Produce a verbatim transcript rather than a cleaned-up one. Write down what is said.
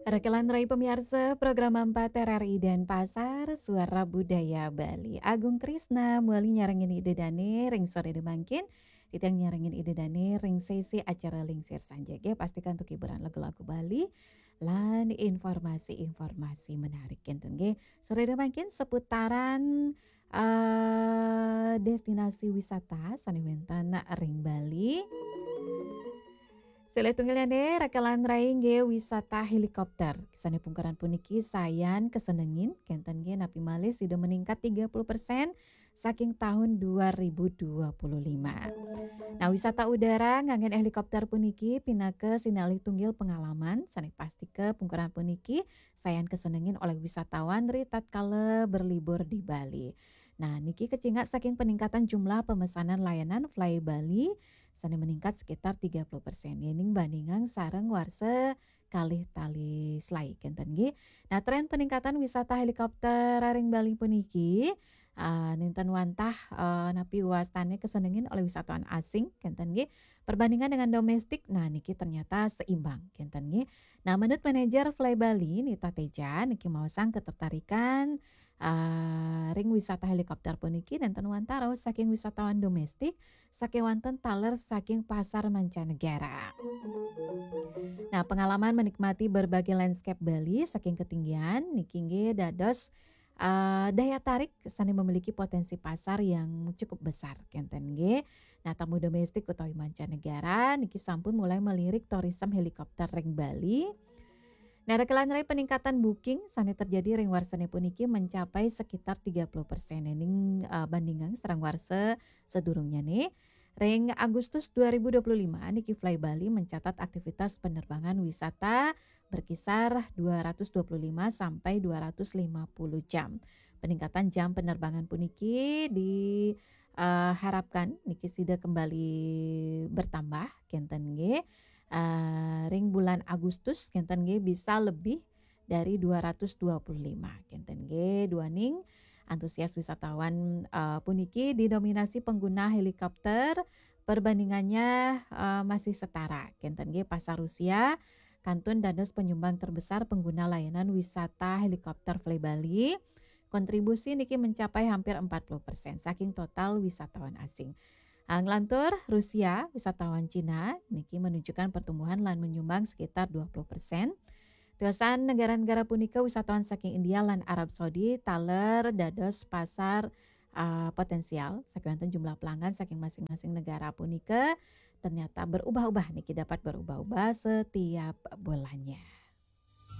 Rekelan rai pamiarsa, program empat R R I Denpasar, Suara Budaya Bali. Agung Krisna, muali nyarengin Ida Dane, ring sore mangkin. Titiang nyarengin Ida Dane, ring sesi acara Lingsir Sanja, nggih, pastikan untuk hiburan lagu-lagu Bali, lan informasi-informasi menarik, kinten, nggih. Sore mangkin seputaran, eh, destinasi wisata, sane wenten ring Bali. Silih tunggilyane, rekelan rai nggih wisata helikopter. Sane pungkaran puniki sayan kasenengin, kenten nggih napi malih sida meningkat tiga puluh persen saking tahun dua ribu dua puluh lima. Nah, wisata udara nganggen helikopter puniki pinaka sinalih tunggil pengalaman, sane pastika pungkaran puniki sayan kasenengin oleh wisatawan ri tatkala berlibur di Bali. Nah, niki kacingak saking peningkatan jumlah pemesanan layanan Fly Bali, sane meningkat sekitar tiga puluh persen, yening bandingang sareng warsa kalih tali selai, kenten nggih. Nah, tren peningkatan wisata helikopter ring Bali puniki, ah, nenten wantah, eh, napi wastane kasenengin oleh wisatawan asing, kenten nggih. Perbandingan dengan domestik, nah, niki ternyata seimbang, kenten nggih. Nah, menurut manajer Fly Bali, Nita Teja, niki maosang ketertarikan, ah, ring wisata helikopter puniki nenten wantah rauh saking wisatawan domestik, sakewanten taler saking pasar mancanegara. Nah, pengalaman menikmati berbagai landscape Bali saking ketinggian niki nggih dados, eh, daya tarik sane memiliki potensi pasar yang cukup besar, kenten nggih. Nah, tamu domestik utawi mancanegara niki sampun mulai melirik tourism helikopter ring Bali. Nah, rekelan rai peningkatan booking sane terjadi ring warsane puniki mencapai sekitar tiga puluh persen, yening, eh, bandingang sareng warsa sadurungnyane. Ring Agustus dua ribu dua puluh lima niki Fly Bali mencatat aktivitas penerbangan wisata berkisar dua ratus dua puluh lima sampai dua ratus lima puluh jam. Peningkatan jam penerbangan puniki di, eh, harapkan niki sida kembali bertambah, kenten nggih. Eh, ring bulan Agustus, kenten nggih, bisa lebih dari dua ratus dua puluh lima, kenten nggih. Duaning antusias wisatawan, eh, puniki didominasi pengguna helikopter, perbandingannya, eh, masih setara, kenten nggih. Pasar Rusia kantun dados penyumbang terbesar pengguna layanan wisata helikopter Fly Bali. Kontribusi niki mencapai hampir empat puluh persen saking total wisatawan asing. Ah, nglantur Rusia, wisatawan Cina niki menunjukkan pertumbuhan lan menyumbang sekitar dua puluh persen. Tiosan negara-negara punika, wisatawan saking India lan Arab Saudi taler dados pasar, ah, potensial, sakewanten jumlah pelanggan saking masing-masing negara punika ternyata berubah-ubah niki, dapat berubah-ubah setiap bulannya.